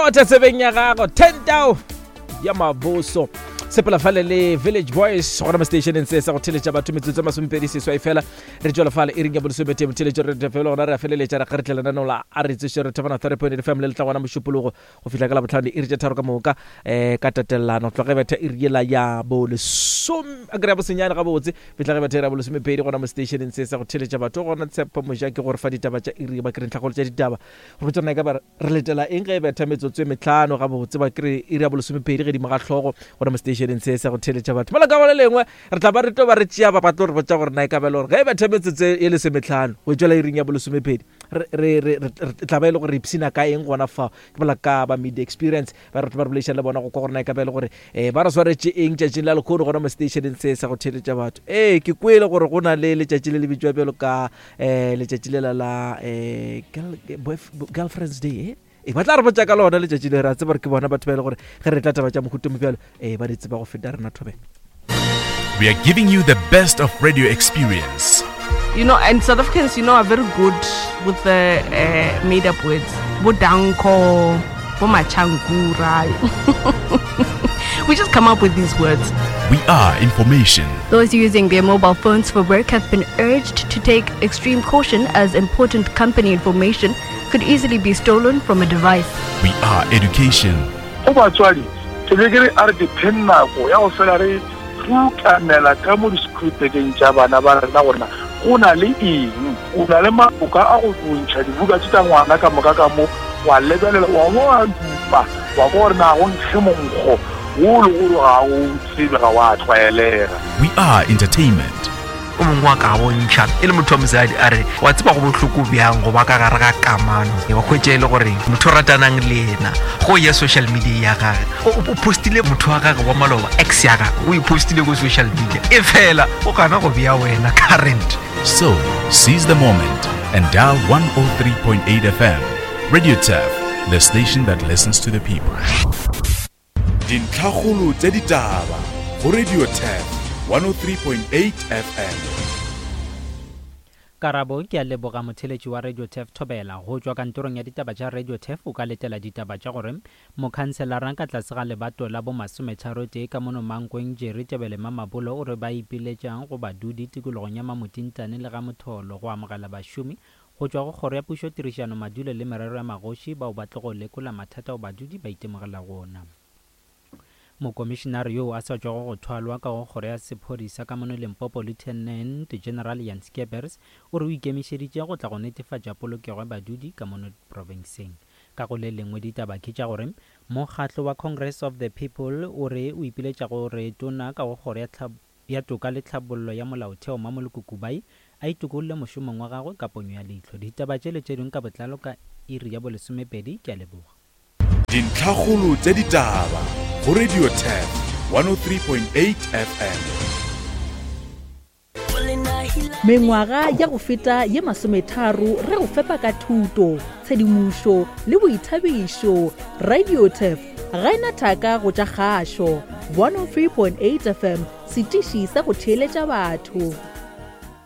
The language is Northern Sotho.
Lotha tsebeng ya gago 10 tao ya maboso sepela fale le Village Boys gona mo stationeng se sa go theletša batho metsotso e masomepedi seswai fela re tšwela fale e ring ya bolesometee motheletšo re fela gona re a feleletša re kgaretla lenaneo la a re tsoše re thefana 3.8 fm le letla gona mošupologo go fihla ka labotlhano diiri tše tharo ka moka um ka tatelano tloga ge betha iri yela ya bolesome a kry ya bosenyane gabotse fihla ge betha iri ya bolesomepedi gona mo stationeng se sa go theletša batho gona tshepo moja ke gore fa ditaba tša iri ba kry ntlhakgolo tša ditaba go botša rena e ka ba Re letela eng ge e betha metsotso e metlhano gabotse ba kry iri ya bolesomepedi gedimo ga hlogo gona mo seteišeneng se sa go theeletša batho? Mola ka go le lengwe re tla ba re tlo ba re tšea ba ba tlo re botša gore na e ka ba e le gore ge e betha metsotso e lesometlhano go tšwela iring ya bolesomepedi re re re re tla ba e le gore re ipshina ka eng gona fao? Ke bolela ka ba Media Experience ba re tlo ba re boledišana le bona go kwa gore na e ka ba e le gore um ba re swaretše eng tšatšing la lekgono gona mo seteišeneng se sa go theeletša batho. Ee, ke kwele gore go na le letšatši le le bitšwa bjalo ka um letšatši lela la um girlfriends day eh? e ba tla re botša ka lona letšatši le re a tseba gore ke bona batho ba e le gore ge re tla taba tša mohuto mo bjalo ee ba di tseba go feta rena thobela. We are giving you the best of radio experience. You know, and South Africans, you know, are very good with the made up words. Bo danko, bo machankura. We just come up with these words. We are information. Those using their mobile phones for work have been urged to take extreme caution as important company information could easily be stolen from a device. We are education. Go batswadi, ke be ke re a re dipheng nako ya go fela re rutamela ka mo di-school-bageng tša bana ba rena gore na go na le eng. O na le maboka a go ntšha dibuka tše tša ngwana ka moka ka mo, wa lebelela, wa bo wa dupa, wa kwa gore na go nkge monkgo wo le gore ga o tsebe, ga wa tlwaelega. We are entertainment. O mongwe wa ka bontšha e le motho wa mosadi a re, Wa tseba go bohloko bjang go ba ka gare ga kamano, wa hwetša e le gore motho o ratanang le yena go ya social media ya gage o postile motho wa gage wa maloba, ex ya gage o e postile ko social media, e fela o gana go bea wena current. So, seize the moment and dial 103.8 FM. Radio Turf, the station that listens to the people. Dintlhakgolo tša ditaba go Radio Turf 103.8 FM. Karabo, Ke a leboga motheeletši wa Radio Turf Thobela. Go tšwa kantorong ya ditaba tša Radio Turf o ka letela ditaba tša gore mokhanselara ka tlase ga lebato la bo masometharotee ka mono Mankweng Jerry Tebele Mamabolo o re ba ipiletša go badudi tikologong ya Mamotintane le Ga-Motholo go amogela bašomi go tšwa go Kgoro ya Pušo Tirišano Madulo le Merero ya Magoši bao ba tlogo lekola mathata ao badudi ba itemogelago ona. Mokomišenare yoo a sa tšwago go thwalwa ka go Kgoro ya Sephodisa ka mono Limpopo Lieutenant General Jan Scheepers o re o ikemišeditše go tla go netefatša polokego ya badudi ka mono profenseng. Ka go le lengwe ditaba ke tša gore mokgatlo wa Congress of the People o re o ipiletša go re tona ka go Kgoro ya ya Toka le Tlhabollo ya Molaotheo Mamoloko Kubayi a itokolle mošomong wa gagwe ka ponyo ya leihlo. Ditaba tše le tše dingwe ka botlalo ka iri ya bolesomepedi. Ke a leboga. Dintlhakgolo tša ditaba go Radio Turf 103.8 FM. Mengwaga ya go feta ye masometharo re go fepa ka thuto, tshedimošo le boithabišo. Radio Turf ga e na thaka go tša kgašo. 103.8 FM, setiši sa go theeletša batho.